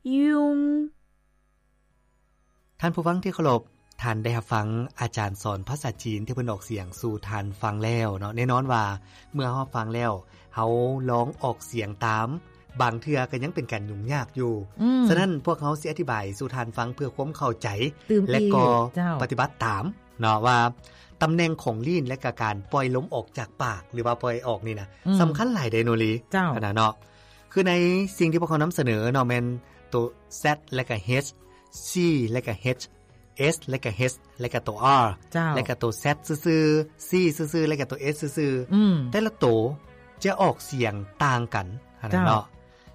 用。 ທ່ານຜູ້ຟັງທີ່ເຄົາລົບ, ທ່ານໄດ້ຮັບຟັງອາຈານສອນພາສາຈີນທີ່ເພິ່ນອອກສຽງສູ່ທ່ານຟັງແລ້ວເນາະ. ແນ່ນອນວ່າເມື່ອເຮົາຟັງແລ້ວ, ເຮົາລອງອອກສຽງຕາມ, ບາງເທື່ອກໍຍັງເປັນການຫຍຸ້ງຍາກຢູ່. ອືມ ສະນັ້ນພວກເຮົາຊິອະທິບາຍສູ່ທ່ານຟັງເພື່ອຄວາມເຂົ້າໃຈ ແລະກໍ ເຈົ້າ ປະຕິບັດຕາມເນາະ ວ່າຕຳແໜ່ງຂອງລີ້ນ ແລະກະການປ່ອຍລົມອອກຈາກປາກ ຫຼືວ່າປ່ອຍອອກນີ້ນະ ອືມ ສຳຄັນຫຼາຍເດ້ໂນລີ. ເຈົ້າ ອັນນັ້ນເນາະ ຄືໃນສິ່ງທີ່ພວກເຮົານຳສະເໜີເນາະ ແມ່ນໂຕ Z ແລະກະ H, C ແລະກະ H, S ແລະກະ H ແລະກະໂຕ R ເຈົ້າ ແລະກະໂຕ Z ຊື່ໆ, C ຊື່ໆ ແລະກະໂຕ S ຊື່ໆ. ອືມ ແຕ່ລະໂຕຈະອອກສຽງຕ່າງກັນຫັ້ນນະເນາະ. ເຈົ້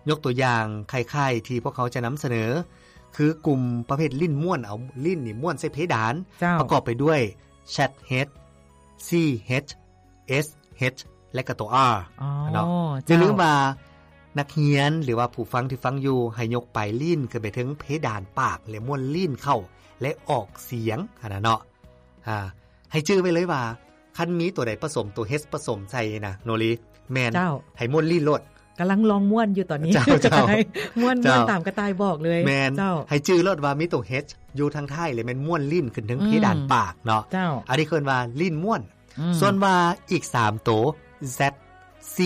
າ ຍົກຕົວຢ່າງຄ້າຍໆທີ່ພວກເຮົາຈະນຳສະເໜີ ຄືກຸ່ມປະເພດລີ້ນມ້ວນ, ເອົາລີ້ນນີ້ມ້ວນໃສ່ເພດານ, ເຈົ້າ ປະກອບໄປດ້ວຍ Z H, C H, S H ແລະກະໂຕ R ອໍ ເນາະ. ເຈົ້າ ຢ່າລືມວ່ານັກຮຽນ ຫຼືວ່າຜູ້ຟັງທີ່ຟັງຢູ່ ໃຫ້ຍົກປາຍລີ້ນຂຶ້ນໄປເທິງເພດານປາກ ແລະມ້ວນລີ້ນເຂົ້າ ແລະອອກສຽງຫັ້ນນະເນາະ. ອາ ໃຫ້ຈື່ໄວ້ເລີຍວ່າ ຄັນມີໂຕໃດປະສົມ ໂຕ H ປະສົມໃສ່ນະໂນລີ ແມ່ນ ເຈົ້າ ໃຫ້ມ້ວນລີ້ນໂລດ. ກຳລັງລອງມ້ວນຢູ່ຕອນນີ້. ເຈົ້າ ເຈົ້າ ມ້ວນ ເຈົ້າ ມ້ວນຕາມກະຕ່າຍບອກເລີຍ. ແມ່ນ ເຈົ້າ ໃຫ້ຈື່ໂລດວ່າມີໂຕ H ຢູ່ທາງທ້າຍ ແລະແມ່ນມ້ວນລີ້ນຂຶ້ນເທິງເພດານປາກເນາະ. ເຈົ້າ ອັນນີ້ເອີ້ນວ່າລີ້ນມ້ວນ. ອືມ ສ່ວນວ່າອີກສາມໂຕ Z, C,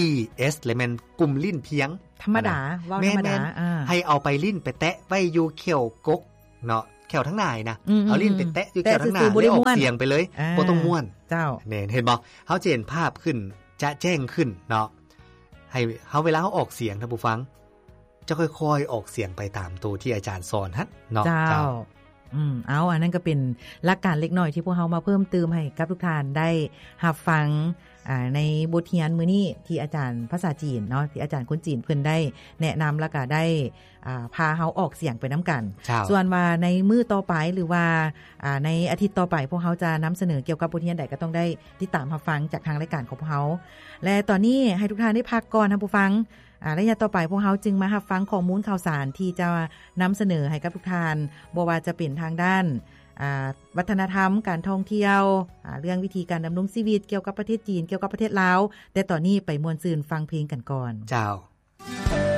S ແລະແມ່ນກຸ່ມລີ້ນພຽງ ທຳມະດາ ເວົ້າທຳມະດາ. ແມ່ນໆ ອາ ໃຫ້ເອົາປາຍລີ້ນໄປແຕະໄວ້ຢູ່ແຂ້ວກົກເນາະ, ແຂ້ວທາງໜ້ານະ. ອືມ ເອົາລີ້ນໄປແຕະຢູ່ແຂ້ວທາງໜ້າ ແລ້ວອອກສຽງໄປເລີຍ. ອາ ບໍ່ຕ້ອງມ້ວນ. ເຈົ້າ ແມ່ນ ເຫັນບໍ່? ເຮົາຈະເຫັນພາບຂຶ້ນ ຈະແຈ້ງຂຶ້ນເນາະ. ໃຫ້ເຮົາ ເວລາເຮົາອອກສຽງ ທ່ານຜູ້ຟັງ ຈະຄ່ອຍໆອອກສຽງໄປຕາມໂຕທີ່ອາຈານສອນຫັ້ນເນາະ. ເຈົ້າ ເຈົ້າ ອືມ ເອົາ ອັນນັ້ນກໍເປັນຫຼັກການເລັກນ້ອຍທີ່ພວກເຮົາມາເພີ່ມຕື່ມໃຫ້ກັບທຸກທ່ານໄດ້ຮັບຟັງ ອາ ໃນບົດຮຽນມື້ນີ້ ທີ່ອາຈານພາສາຈີນເນາະ ທີ່ອາຈານຄົນຈີນເພິ່ນໄດ້ແນະນຳ ແລ້ວກໍໄດ້ ອາ ພາເຮົາອອກສຽງໄປນຳກັນ. ເຈົ້າ ສ່ວນວ່າໃນມື້ຕໍ່ໄປ ຫຼືວ່າ ອາ ໃນອາທິດຕໍ່ໄປ ພວກເຮົາຈະນຳສະເໜີກ່ຽວກັບບົດຮຽນໃດ ກໍຕ້ອງໄດ້ຕິດຕາມຮັບຟັງຈາກທາງລາຍການຂອງພວກເຮົາ. ແລະຕອນນີ້ໃຫ້ທຸກທ່ານໄດ້ພັກກ່ອນ ທ່ານຜູ້ຟັງ. ອາ ໄລຍະຕໍ່ໄປພວກເຮົາຈຶ່ງມາຮັບຟັງຂໍ້ມູນຂ່າວສານທີ່ຈະນຳສະເໜີໃຫ້ກັບທຸກທ່ານ, ບໍ່ວ່າຈະເປັນທາງດ້ານ ອາ ວັດທະນະທຳ, ການທ່ອງທ່ຽວ, ອາ ເລື່ອງວິທີການດຳລົງຊີວິດ, ກ່ຽວກັບປະເທດຈີນ, ກ່ຽວກັບປະເທດລາວ. ແຕ່ຕອນນີ້ໄປມ່ວນຊື່ນຟັງເພງກັນກ່ອນ. ເຈົ້າ.